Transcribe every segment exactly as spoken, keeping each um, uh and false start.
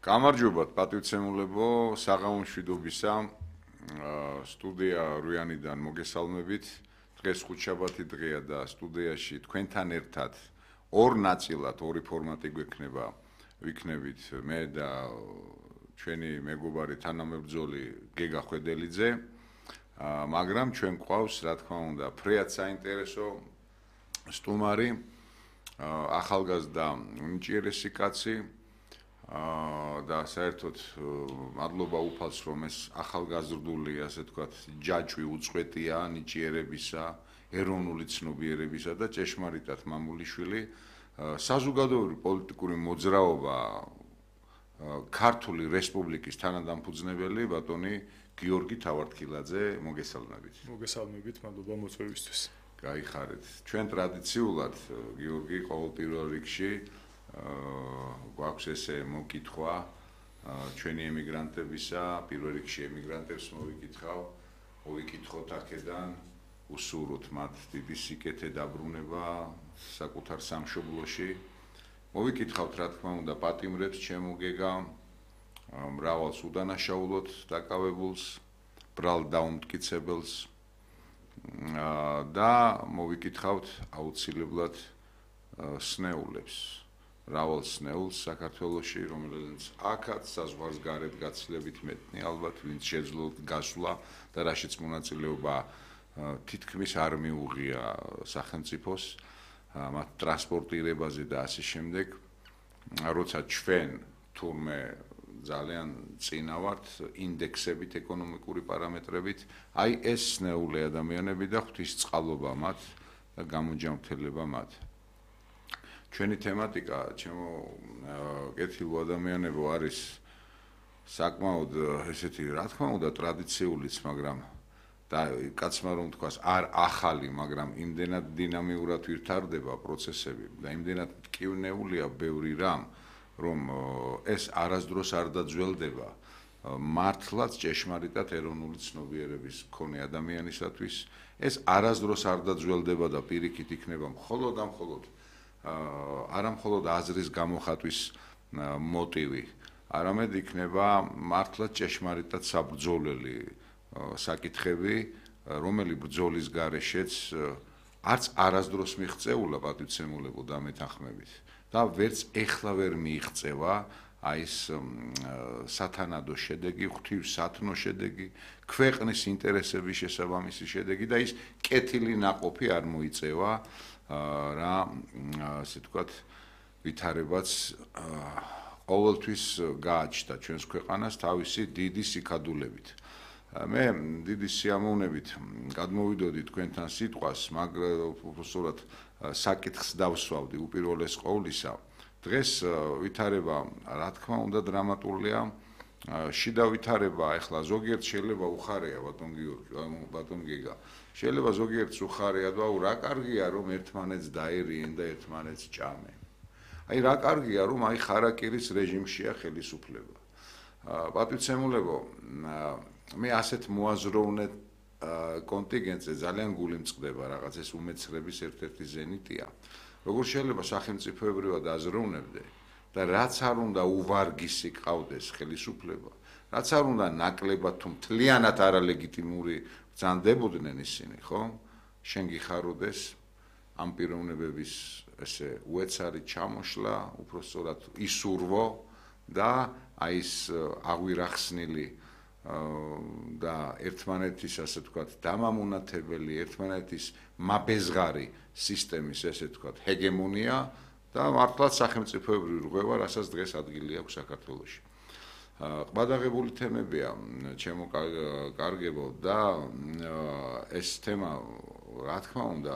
გამარჯობათ პატივცემულებო, საღამომშვიდობისა სტუდია რუიანიდან მოგესალმებით. დღეს ხუთშაბათი დღეა და სტუდიაში თქვენთან ერთად ორ ნაწილად ორი ფორმატი გვექნება. ვიქნებით მე და ჩვენი მეგობარი თანამებრძოლი გეგა ხვედელიძე, მაგრამ ჩვენ გვყავს, რა თქმა უნდა, ფრეად საინტერესო სტუმარი, ახალგაზრდა უნიჭიერესი კაცი და საერთოდ მადლობა უფალს, რომ ეს ახალგაზრდული, ასე ვთქვათ, ჯაჭვი უწყვეტია ნიჭიერებისა, ეროვნული ცნობიერებისა და ჭეშმარიტად მამულიშვილი საზოგადოებრივი პოლიტიკური მოძრაობა ქართული რესპუბლიკის თანადამფუძნებელი ბატონი გიორგი თავართქილაძე, მოგესალმებით. მოგესალმებით, მადლობა მოწვევისთვის. გაიხარეთ. ჩვენ ტრადიციულად გიორგი ყოველ პირველ რიგში გვაქვს ესე მოკითხვა ჩვენი ემიგრანტებისა, პირველ რიგში ემიგრანტებს მოვიკითხავ, მოვიკითხოთ აქედან, უსურვოთ მათ დიდი სიკეთე დაბრუნება საკუთარ სამშობლოში. მოვიკითხავთ, რა თქმა უნდა, პატიმრებს ჩემო გეგა, მრავალს უდანაშაულოდ დაკავებულს, ბრალ დაუმტკიცებელს და მოვიკითხავთ აუცილებლად სნეულებს. მრავალ სნეულს საქართველოში, რომელიც აქაც საზღვარგარეთ გაცილებით მეტნი, ალბათ ვინც შეძლოთ გასვლა და რაშიც მონაწილეობა თითქმის არ მიუღია სახელმწიფოს, მათ ტრანსპორტირებაზე და ასე შემდეგ. როცა ჩვენ თურმე ძალიან წინა ვართ ინდექსებით, ეკონომიკური პარამეტრებით, აი ეს სნეული ადამიანები და ღვთისწყალობა მათ და გამოჯანმრთელება მათ. ჩვენი თემატიკა, ჩემო კეთილო ადამიანებო, არის საკმაოდ ესეთი, რა თქმა უნდა, ტრადიციულიც, მაგრამ და კაცმა რომ თქვას, არ ახალი, მაგრამ იმდენად დინამიურად ვითარდება პროცესები და იმდენად მტკივნეულია ბევრი რამ, რომ ეს არასდროს არ დაძველდება მართლაც ჭეშმარიტად ეროვნული ცნობიერების მქონე ადამიანისათვის. ეს არასდროს არ დაძველდება და პირიქით იქნება მხოლოდ და მხოლოდ არა მხოლოდ აზრის გამოხატვის მოტივი, არამედ იქნება მართლაც ჭეშმარიტად საბრძოლელი საკითხები, რომელი ბრძოლის გარეშეც არც არასდროს მიღწეულა პატივცემულებო და მეთანხმებით და ვერც ეხლა ვერ მიიღწევა აი ეს სათანადო შედეგი, ღვთივსათნო შედეგი, ქვეყნის ინტერესების შესაბამისი შედეგი და ის კეთილი ნაყოფი არ მოიწევა რა, ასე ვთქვათ, ვითარებაც ყოველთვის გააჩნდა ჩვენს ქვეყანას თავისი დიდი სიკადულებით. მე დიდი სიამოვნებით გადმოვიდოდი თქვენთან სიტყვას, მაგრამ უბრალოდ საკითხს დავსვავდი უპირველეს ყოვლისა. დღეს ვითარება, რა თქმა უნდა, დრამატულია. შიდა ვითარება, ახლა ზოგიერთ შეიძლება უხარეა ბატონ გიორგი, ბატონ გეგა. შეიძლება ზოგიერთს უხარეა და აუ რა კარგია რომ ერთმანეთს დაერიენ და ერთმანეთს ჭამენ. აი რა კარგია რომ აი ხარაკირის რეჟიმშია ხელისუფლება. პატივცემულებო, მე ასეთ მოაზროვნე კონტინგენტზე ძალიან გული მწყდება, რაღაც ეს უმეცრების ერთ-ერთი ზენიტია. როგორ შეიძლება სახელმწიფოებრივად აზროვნებდე და რაც არ უნდა უვარგისი ყავდეს ხელისუფლება, რაც არ უნდა ნაკლებად თუ მთლიანად არალეგიტიმური ბრძანდებოდნენ ისინი, ხო? შენ გიხაროდეს ამ პიროვნებების ესე უეცარი ჩამოშლა, უпростоრად ისურვო და აი ეს აღვირახსნილი და ერთმანეთის, ასე ვთქვათ, დამამონათებელი, ერთმანეთის მაბეზღარი სისტემის, ესე ვთქვათ, ჰეგემონია და მართლაც სახელმწიფოებრივი რღვევა, რასაც დღეს ადგილი აქვს საქართველოში. ყბადაღებული თემებია, ჩემო კარგებო და ეს თემა, რა თქმა უნდა,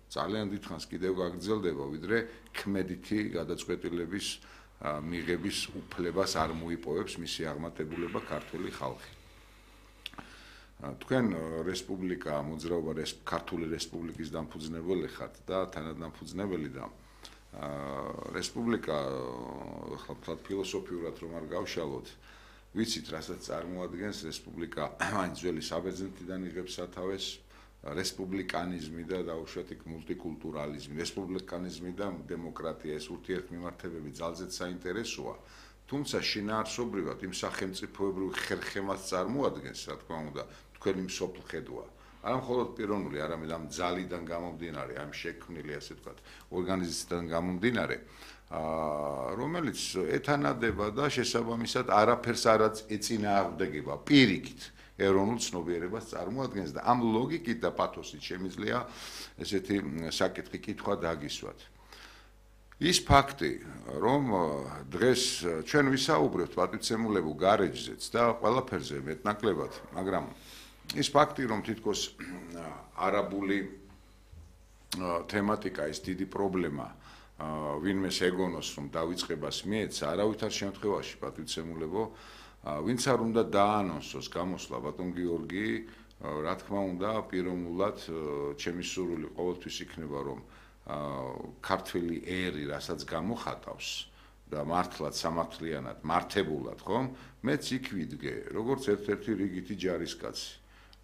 ძალიან დიდხანს კიდევ გაგრძელდება, ვიდრე ქმედითი გადაწყვეტილების მიღების უფლებას არ მოიპოვებს მისი აღმატებულება ქართული ხალხი. თქვენ რესპუბლიკა, მოძრაობა ქართული რესპუბლიკის დამფუძნებელი ხართ და თანადამფუძნებელი და რესპუბლიკა, ახლა ფილოსოფიურად რომ არ გავშალოთ, ვიცით, რასაც წარმოადგენს რესპუბლიკა, აი ძველი საბერძნეთიდან იღებს სათავეს, რესპუბლიკანიზმი და დაუშვათ იქ მულტიკულტურალიზმი, რესპუბლიკანიზმი და დემოკრატია, ეს ურთიერთმიმართებები ძალზედ საინტერესოა თუმცა შინაარსობრივად იმ სახელმწიფოებრივ ხერხემას წარმოადგენს, რა თქმა უნდა, თქვენი მსოფლ ხედვა. არა მხოლოდ პიროვნული, არამედ ამ ძალიდან გამომდინარე, ამ შექმნილი, ასე ვთქვათ, ორგანიზაციიდან გამომდინარე, რომელიც ეთანადება და შესაბამისად არაფერს არ ეწინააღმდეგება პირიქით ეროვნულ ცნობიერებას წარმოადგენს და ამ ლოგიკით და პათოსით შემიძლია ესეთი საკითხი კითხვა დაგისვათ. ის ფაქტი, რომ დღეს ჩვენ ვისაუბრებთ პატივცემულებულ გარეჯზეც და ყველაფერზე მეტნაკლებად, მაგრამ ის ფაქტი, რომ თითქოს არაბული თემატიკა ის დიდი პრობლემა ვინმეს ეგონოს, რომ დავიწყებას მიეცა, არავითარ შემთხვევაში პატივცემულებო, ვინც არ უნდა დაანონსოს გამოსვლა ბატონ გიორგი, რა თქმა უნდა, პიროვნულად ჩემი სურვილი ყოველთვის იქნება, რომ ქართველი ერი, რასაც გამოხატავს და მართლაც სამართლიანად, მართებულად, ხომ? მეც იქ ვიდგე, როგორც ერთ-ერთი რიგითი ჯარისკაცი.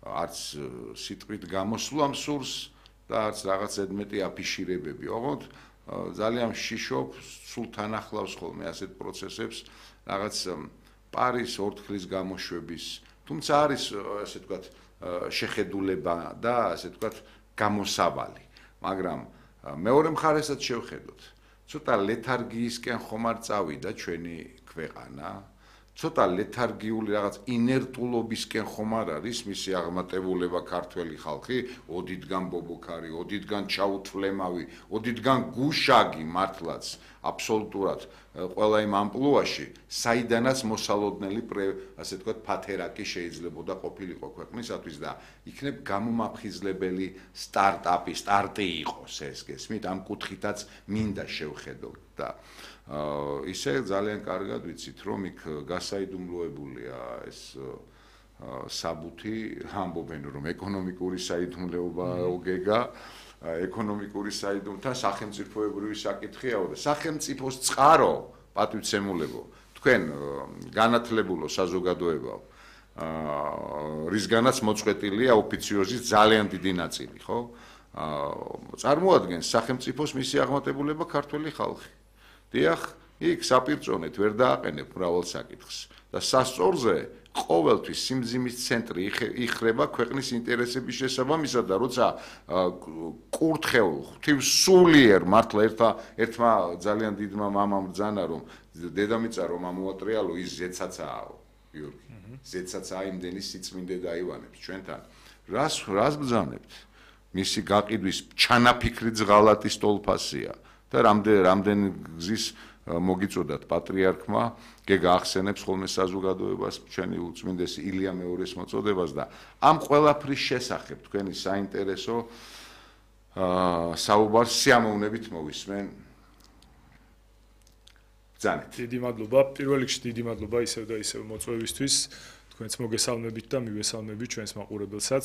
არც სიტყვით გამოსვლამ სურს და არც რაღაც ზედმეტი აფიშირებები. ოღონდ ძალიან შიშობ, სულ თან ახლავს ხოლმე ასეთ პროცესებს, რაღაც პარის ორთქლის გამოშვების, თუმცა არის, ასე ვთქვათ, შეხედულება და ასე ვთქვათ, გამოსავალი. მაგრამ მეორე მხარესაც შევხედოთ. ცოტა ლეთარგიისკენ ხომ არ წავიდა ჩვენი ქვეყანა? ცოტა ლეთარგიული რაღაც ინერტულობისკენ ხომ არ არის მისი აღმატებულება ქართველი ხალხი, ოდითგან ბობოქარი, ოდითგან ჩაუთვლემავი, ოდითგან გუშაგი მართლაც აბსოლუტურად ყველა იმ ამპლუაში, საიდანაც მოსალოდნელი, ასე ვთქვათ, ფათერაკი შეიძლებოდა ყოფილიყო ქვეყნისათვის და იქნებ გამომაფხიზლებელი სტარტაპი, სტარტი იყოს ეს გესმით, ამ კუთხითაც მინდა შევხედოთ და ისე ძალიან კარგად ვიცით, რომ იქ გასაიდუმლოებულია ეს საბუთი, ამბობენ, რომ ეკონომიკური საიდუმლოება ოგეგა, ეკონომიკური საიდუმლოება, სახელმწიფოებრივი საკითხიაო და სახელმწიფოს წყარო, პატივცემულებო, თქვენ განათლებულო საზოგადოებაო, რისგანაც მოწყვეტილია ოფიციოზის ძალიან დიდი ნაწილი, ხო? წარმოადგენს სახელმწიფოს მისი აღმატებულება ქართველი ხალხი. დიახ, იქ საპირწონეთ ვერ დააყენებ მრავალ საკითხს და სასწორზე ყოველთვის სიმძიმის ცენტრი იხრება ქვეყნის ინტერესების შესაბამისად და როცა კურთხეულ ღვთივსულიერ მართლა ერთა ერთმა ძალიან დიდმა მამამ ბრძანა, რომ დედამიწა რომ ამოატრიალო ის ზეცაცააო, გიორგი. ზეცაცაა იმდენი სიწმინდე დაივანებს ჩვენთან. რას რას ბრძანებთ? მისი გაყიდვის ჩანაფიქრიც ღალატი სტოლფასია. და რამდენ რამდენ გზის მოგიწოდათ პატრიარქმა, გეგა ახსენებს ხოლმე საზოგადოებას ჩვენი უწმინდესი ილია მეორის მოწოდებას და ამ ყველაფრის შესახებ თქვენი საინტერესო საუბარს სიამოვნებით მოვისმენ. ბრძანეთ. დიდი მადლობა, პირველ რიგში დიდი მადლობა ისევ და ისევ მოწვევისთვის, თქვენც მოგესალმებით და მივესალმებით ჩვენს მაყურებელსაც.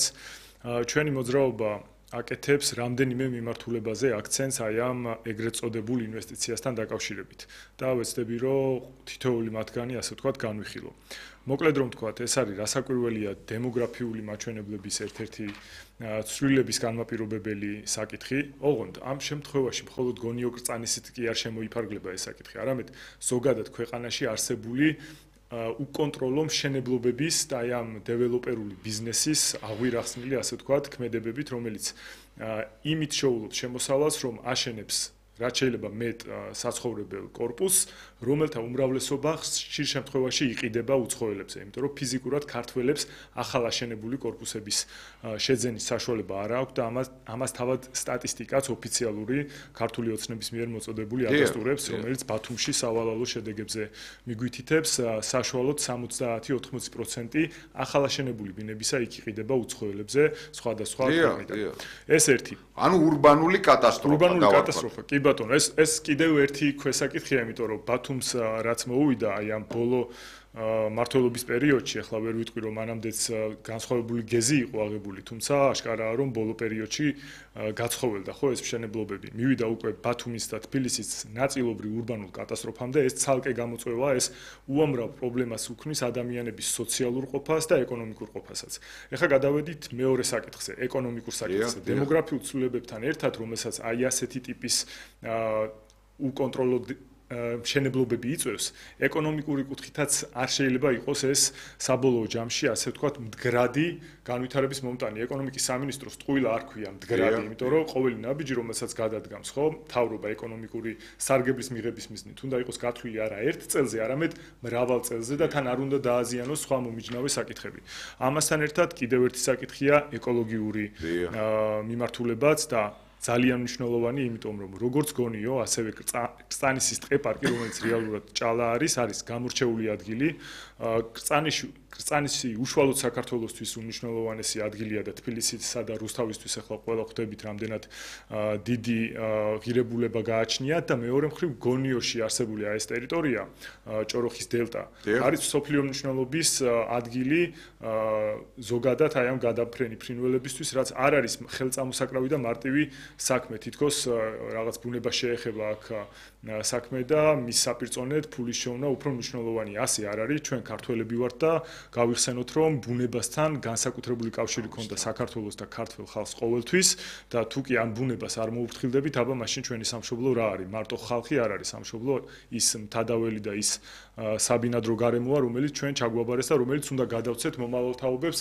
ჩვენი მოძრაობა აკეთებს რამდენიმე მიმართულებაზე აქცენტს აი ამ ეგრეთ წოდებულ ინვესტიციასთან დაკავშირებით და ვეცდები რომ თითოეული მათგანი ასე ვთქვათ განვიხილო. მოკლედ რომ ვთქვათ, ეს არის რასაკვირველია დემოგრაფიული მაჩვენებლების ერთ-ერთი ცვლილების განმაპირობებელი საკითხი. ოღონდ ამ შემთხვევაში მხოლოდ გონიო კრწანისით კი არ შემოიფარგლება ეს საკითხი, არამედ ზოგადად ქვეყანაში არსებული უკონტროლო მშენებლობების და აი ამ დეველოპერული ბიზნესის აღვირახსნილი, ასე ვთქვათ, ქმედებებით, რომელიც იმით შეულობს შემოსავალს, რომ აშენებს რაც შეიძლება მეტ საცხოვრებელ კორპუსს, რომელთა უმრავლესობა ხშირ შემთხვევაში იყიდება უცხოელებზე, იმიტომ რომ ფიზიკურად ქართველებს ახალ აშენებული კორპუსების შეძენის საშუალება არ აქვს და ამას ამას თავად სტატისტიკაც ოფიციალური ქართული ოცნების მიერ მოწოდებული ადასტურებს, რომელიც ბათუმში სავალალო შედეგებზე მიგვითითებს, საშუალოდ სამოცდაათი ოთხმოცი პროცენტი ახალ აშენებული ბინებისა იქ იყიდება უცხოელებზე სხვადასხვა ქვეყნიდან. ეს ერთი. ანუ ურბანული კატასტროფა. ურბანული კატასტროფა. კი ბატონო, ეს ეს კიდევ ერთი ქვესაკითხია, იმიტომ რომ ბათუმს რაც მოუვიდა აი ამ ბოლო მმართველობის პერიოდში, ახლა ვერ ვიტყვი რომ მანამდეც განსხვავებული გეზი იყო აღებული, თუმცა აშკარაა რომ ბოლო პერიოდში გაცხოველდა ხო ეს მშენებლობები. მივიდა უკვე ბათუმის და თბილისის ნაწილობრივ ურბანულ კატასტროფამდე, ეს ცალკე გამოწვევა, ეს უამრავ პრობლემას უქმნის ადამიანების სოციალურ ყოფას და ეკონომიკურ ყოფასაც. ეხლა გადავედით მეორე საკითხზე, ეკონომიკურ საკითხზე. დემოგრაფიულ ცვლილებებთან ერთად, რომელსაც აი ასეთი ტიპის უკონტროლო მშენებლობები იწვევს, ეკონომიკური კუთხითაც არ შეიძლება იყოს ეს საბოლოო ჯამში, ასე ვთქვათ, მდგრადი განვითარების მომტანი. ეკონომიკის სამინისტროს ტყუილა არ ქვია მდგრადი, იმიტომ რომ ყოველი ნაბიჯი, რომელსაც გადადგამს, ხო, მთავრობა ეკონომიკური სარგებლის მიღების მიზნით, უნდა იყოს გათვლილი არა ერთ წელზე, არამედ მრავალ წელზე და თან არ უნდა დააზიანოს სხვა მომიჯნავე საკითხები. ამასთან ერთად კიდევ ერთი საკითხია ეკოლოგიური მიმართულებაც და ძალიან მნიშვნელოვანი, იმიტომ რომ როგორც გონიო, ასევე კრწანისის ტყეპარკი, რომელიც რეალურად ჭალა არის, არის გამორჩეული ადგილი. კრწანიში კრწანისი უშუალოდ საქართველოსთვის უნიშნელოვანესი ადგილია და თბილისისა და რუსთავისთვის ახლა ყველა ხვდებით, რამდენად დიდი ღირებულება გააჩნიათ და მეორე მხრივ გონიოში არსებული ეს ტერიტორია, ჭოროხის დელტა, არის სოფლიო მნიშვნელობის ადგილი ზოგადად აი ამ გადაფრენი ფრინველებისთვის, რაც არ არის ხელწამოსაკრავი და მარტივი საქმე, თითქოს რაღაც ბუნება შეეხება აქ საქმე და მის საპირწონედ ფულის შოვნა უფრო მნიშვნელოვანია. ასე არ არის, ჩვენ ქართველები ვართ და გავიხსენოთ, რომ ბუნებასთან განსაკუთრებული კავშირი ქონდა საქართველოს და ქართველ ხალხს ყოველთვის და თუ კი ამ ბუნებას არ მოუფრთხილდებით, აბა მაშინ ჩვენი სამშობლო რა არის? მარტო ხალხი არ არის სამშობლო, ის მთადაველი და ის საბინადრო გარემოა, რომელიც ჩვენ ჩაგვაბარეს და რომელიც უნდა გადავცეთ მომავალ თაობებს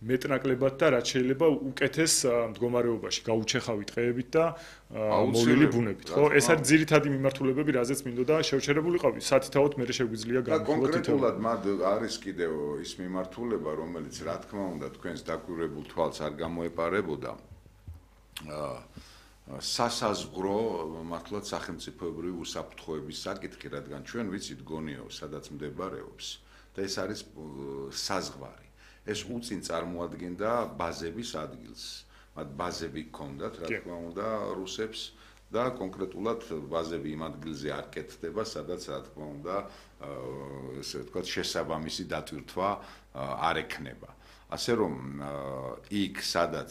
მეტნაკლებად და რაც შეიძლება უკეთეს მდგომარეობაში გაუჩეხავი ტყეებით და მოვლილი ბუნებით, ხო? ეს არის ძირითადი მიმართულებები, რაზეც მინდოდა შევჩერებულიყავი. სათითაოდ მე შეგვიძლია გამოვიდეთ. კონკრეტულად მად არის კიდევ ის მიმართულება, რომელიც რა თქმა უნდა თქვენს დაკვირვებულ თვალს არ გამოეპარებოდა. სასაზღვრო მართლაც სახელმწიფოებრივი უსაფრთხოების საკითხი, რადგან ჩვენ ვიცით გონიო, სადაც მდებარეობს და ეს არის საზღვარი. ეს უწინ წარმოადგენდა ბაზების ადგილს. მათ ბაზები ჰქონდათ, რა თქმა უნდა, რუსებს და კონკრეტულად ბაზები იმ ადგილზე არ კეთდება, სადაც რა თქმა უნდა, ესე ვთქვათ, შესაბამისი დატვირთვა არ ექნება. ასე რომ იქ სადაც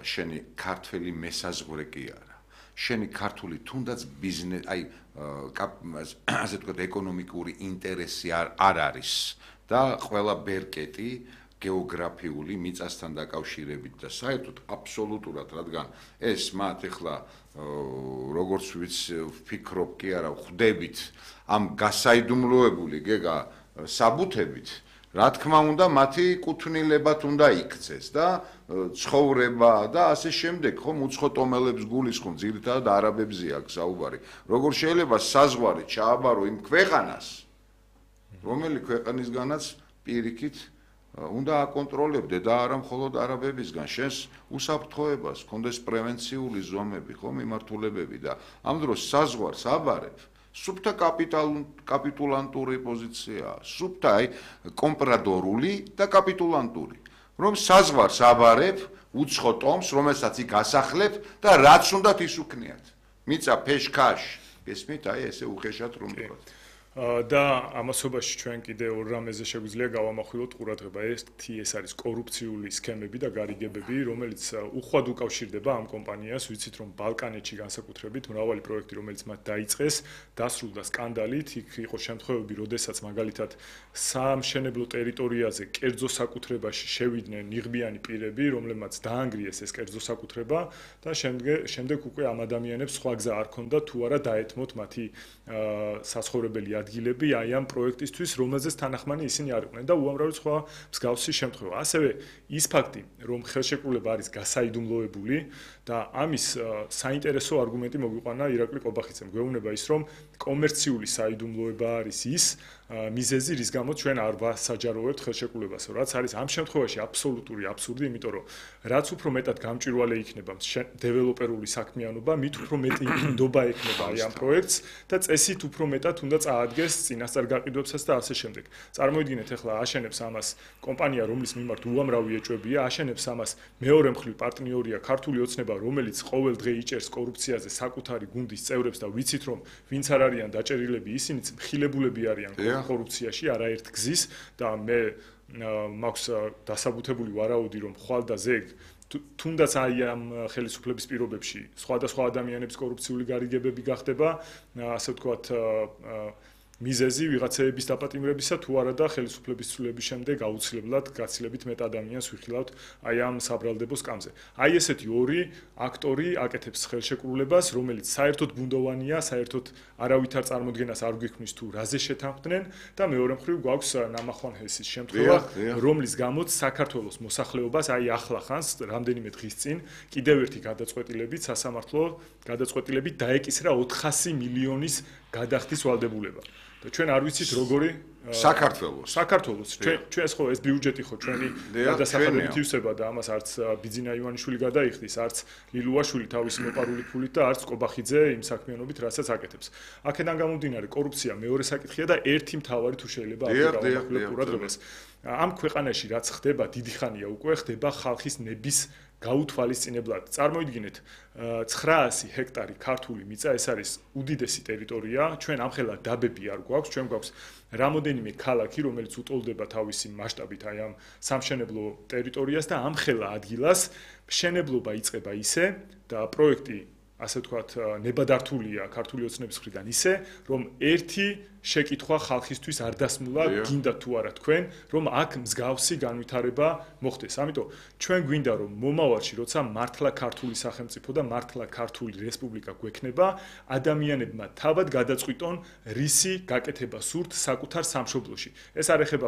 შენი ქართველი მესაზღვრე კი არა. შენი ქართული თუნდაც ბიზნეს, აი, ასე ვთქვათ, ეკონომიკური ინტერესი არ არის და ყველა ბერკეტი გეოგრაფიული მიწასთან დაკავშირებით და საერთოდ აბსოლუტურად, რადგან ეს მათ ეხლა როგორც ვფიქრობ კი არა, ხვდებით ამ გასაიდუმლოებული გეგა საბუთებით, რა თქმა უნდა, მათი კუთვნილებად უნდა იქცეს და ცხოვრება და ასე შემდეგ, ხომ უცხო ტომელებს გულისხმობ, ძირითადად არაბებზე აქვს საუბარი. როგორ შეიძლება საზღვარი ჩააბარო იმ ქვეყანას, რომელი ქვეყანისგანაც პირიქით უნდა აკონტროლებდე და არა მხოლოდ არაბებისგან, შენს უსაფრთხოებას, კონდეს პრევენციული ზომები, ხო, მიმართულებები და ამ დროს საზღვარს აბარებ, სუფთა კაპიტულანტური პოზიციაა, სუფთა აი კომპრადორული და კაპიტულანტური, რომ საზღვარს აბარებ უცხო ტომს, რომელსაც იქ ასახლებ და რაც უნდათ ის უქნიათ. მიწა ფეშქაშ, ესმით, აი ესე უხეშად რომ ვთქვათ. და ამასობაში ჩვენ კიდე ორ რამეზე შეგვიძლია გავამახვილოთ ყურადღება. ერთი ეს არის კორუფციული სქემები და გარიგებები, რომელიც უხვად უკავშირდება ამ კომპანიას. ვიცით, რომ ბალკანეთში განსაკუთრებით მრავალი პროექტი, რომელიც მათ დაიწყეს, დასრულდა სკანდალით. იქ იყო შემთხვევები, როდესაც მაგალითად სამშენებლო ტერიტორიაზე კერძო საკუთრებაში შევიდნენ ნიღბიანი პირები, რომლებმაც დაანგრიეს ეს კერძო საკუთრება და შემდეგ უკვე ამ ადამიანებს სხვა გზა არ ქონდა თუ არა დაეთმოთ მათი საცხოვრებელი ადგილები აი ამ პროექტისთვის, რომელზეც თანახმანი ისინი არ იყვნენ და უამრავი სხვა მსგავსი შემთხვევა. ასევე ის ფაქტი, რომ ხელშეკრულება არის გასაიდუმლოებული და ამის საინტერესო არგუმენტი მოგვიყვანა ირაკლი ყობახიძემ. გვეუბნება ის, რომ კომერციული საიდუმლოება არის ის მიზეზი, რის გამოც ჩვენ არ ვასაჯაროვებთ ხელშეკრულებას, რაც არის ამ შემთხვევაში აბსოლუტური აბსურდი, იმიტომ რომ რაც უფრო მეტად გამჭვირვალე იქნება დეველოპერული საქმიანობა, მით უფრო მეტი ნდობა ექნება აი ამ პროექტს და წესით უფრო მეტად უნდა წაადგეს წინასწარ გაყიდვებსაც და ასე შემდეგ. წარმოიდგინეთ, ახლა აშენებს ამას კომპანია, რომლის მიმართ უამრავი ეჭვებია, აშენებს ამას მეორე მხრივ პარტნიორია ქართული ოცნება, რომელიც ყოველ დღე იჭერს კორუფციაზე საკუთარი გუნდის წევრებს და ვიცით, რომ ვინც არ არიან დაჭერილები, ისინიც მხილებულები არიან კორუფციაში არაერთ გზის და მე მაქვს დასაბუთებული ვარაუდი, რომ ხვალ და ზეგ თუნდაც აი ამ ხელისუფლების პირობებში სხვადასხვა ადამიანების კორუფციული გარიგებები გახდება, ასე ვთქვათ, მიზეზი ვიღაცების დაპატიმრებისა თუ არა და ხელისუფლების ცვლილების შემდეგ აუცილებლად გაცილებით მეტ ადამიანს ვიხილავთ აი ამ საბრალდებო სკამზე. აი ესეთი ორი აქტორი აკეთებს ხელშეკრულებას, რომელიც საერთოდ ბუნდოვანია, საერთოდ არავითარ წარმოდგენას არ გვიქმნის თუ რაზე შეთანხმდნენ და მეორე მხრივ გვაქვს ნამახვან ჰესის შემთხვევა, რომლის გამოც საქართველოს მოსახლეობას აი ახლა ხანს რამდენიმე დღის წინ კიდევ ერთი გადაწყვეტილებით სასამართლო გადაწყვეტილებით დაეკისრა ოთხასი მილიონის გადახდის ვალდებულება. და ჩვენ არ ვიცით როგორი საქართველოს საქართველოს ჩვენ ჩვენს ხო ეს ბიუჯეტი ხო ჩვენი გადასახადებით ივსება და ამას არც ბიძინა ივანიშვილი გადაიხდის, არც ლილუაშვილი თავისი მოპარული ფულით და არც კობახიძე იმ საქმიანობით რასაც აკეთებს. აქედან გამომდინარე კორუფცია მეორე საკითხია და ერთი მთავარი თუ შეიძლება აღგვირავოთ ყურადღებას. ამ ქვეყანაში რაც ხდება დიდი ხანია უკვე ხდება ხალხის ნების გაუთვალისწინებლად. წარმოიდგინეთ ცხრაასი ჰექტარი ქართული მიწა, ეს არის უდიდესი ტერიტორია, ჩვენ ამხელა დაბები არ გვაქვს, ჩვენ გვაქვს რამოდენიმე ქალაქი, რომელიც უტოლდება თავისი მასშტაბით აი ამ სამშენებლო ტერიტორიას და ამხელა ადგილას მშენებლობა იწყება ისე და პროექტი ასე ვთქვათ ნებადართულია ქართული ოცნების მხრიდან ისე, რომ ერთი შეკითხვა ხალხისთვის არ დასმულა, გინდა თუ არა თქვენ, რომ აქ მსგავსი განვითარება მოხდეს. ამიტომ ჩვენ გვინდა რომ მომავალში, როცა მართლა ქართული სახელმწიფო და მართლა ქართული რესპუბლიკა გვექნება, ადამიანებმა თავად გადაწყვიტონ რისი გაკეთება სურთ საკუთარ სამშობლოში. ეს არ ეხება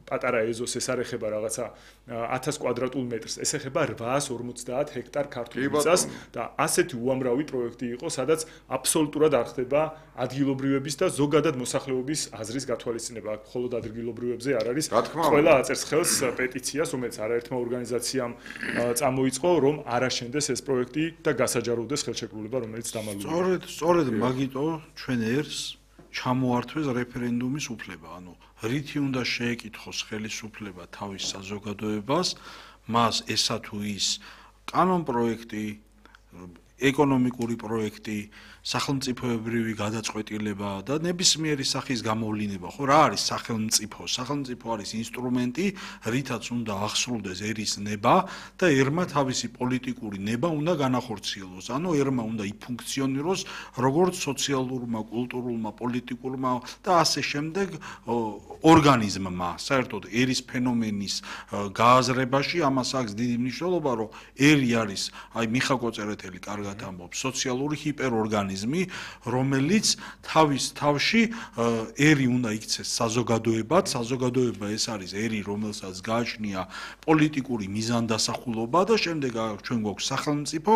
პატარა ეზოს, ეს არ ეხება რაღაცა ათას კვადრატულ მეტრს, ეს ეხება რვაას ორმოცდაათ ჰექტარ ქართულ მიწას და ასეთი უამრავი პროექტი იყო, სადაც აბსოლუტურად არ ხდება ადგილობრივების და ზოგადად მოსახლეობის აზრის გათვალისწინება. აქ მხოლოდ ადგილობრივებზე არ არის. ყველა აწერს ხელს პეტიციას, რომელიც არაერთმა ორგანიზაციამ წამოიწყო, რომ არ აშენდეს ეს პროექტი და გასაჯაროვდეს ხელშეკრულება, რომელიც დამალულია. სწორედ, სწორედ მაგიტო ჩვენ ერს ჩამოართვეს რეფერენდუმის უფლება, ანუ რითი უნდა შეეკითხოს ხელისუფლება თავის საზოგადოებას, მას ესა თუ ის კანონპროექტი, ეკონომიკური პროექტი, სახელმწიფოებრივი გადაწყვეტილება და ნებისმიერი სახის გამოვლინება, ხო რა არის სახელმწიფო? სახელმწიფო არის ინსტრუმენტი, რითაც უნდა ახსრულდეს ერის ნება და ერმა თავისი პოლიტიკური ნება უნდა განახორციელოს. ანუ ერმა უნდა იფუნქციონიროს როგორც სოციალურმა, კულტურულმა, პოლიტიკურმა და ასე შემდეგ ორგანიზმმა. საერთოდ ერის ფენომენის გააზრებაში ამას აქვს დიდი მნიშვნელობა, რომ ერი არის, აი მიხა კოწერეთელი კარგად ამბობს, სოციალური ჰიპერორგანიზმი, რომელიც თავის თავში ერი უნდა იქცეს საზოგადოებად, საზოგადოება ეს არის ერი, რომელსაც გააჩნია პოლიტიკური მიზანდასახულობა და შემდეგ ჩვენ გვაქვს სახელმწიფო,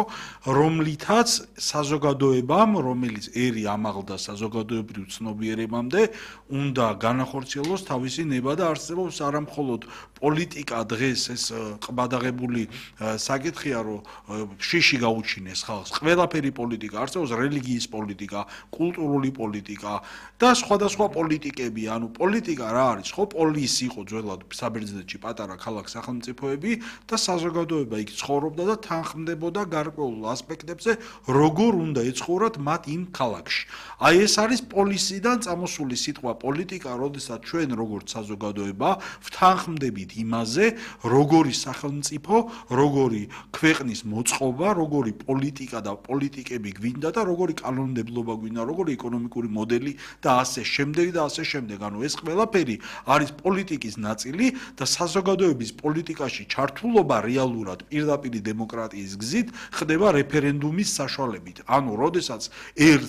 რომლითაც საზოგადოებამ, რომელიც ერი ამაღლდა საზოგადოებრივ ცნობიერებამდე, უნდა განახორციელოს თავისი ნება და არსებობს არა მხოლოდ პოლიტიკა დღეს ეს ყბადაღებული საკითხია, რომ შიში გაუჩინეს ხალხს. ყველაფერი პოლიტიკა არსებობს, რელიგიის პოლიტიკა, კულტურული პოლიტიკა და სხვადასხვა პოლიტიკები, ანუ პოლიტიკა რა არის? ხო, პოლის იყო ძველად საბერძნეთში პატარა ქალაქ სახელმწიფოები და საზოგადოება იქ ცხოვრობდა და თანხმდებოდა გარკვეულ ასპექტებზე, როგორ უნდა ეცხოვრათ მათ იმ ქალაქში. აი ეს არის პოლისიდან წამოსული სიტყვა პოლიტიკა, როდესაც ჩვენ როგორც საზოგადოება ვთანხმდებით იმაზე, როგორი სახელმწიფო, როგორი ქვეყნის მოწყობა, როგორი პოლიტიკა და პოლიტიკები გვინდა და როგორი კანონმდებლობა გვინდა, როგორი ეკონომიკური მოდელი და ასე შემდეგ და ასე შემდეგ. ანუ ეს ყველაფერი არის პოლიტიკის ნაწილი და საზოგადოების პოლიტიკაში ჩართულობა რეალურად პირდაპირ დემოკრატიის გზით ხდება რეფერენდუმის საშუალებით. ანუ როდესაც ერთ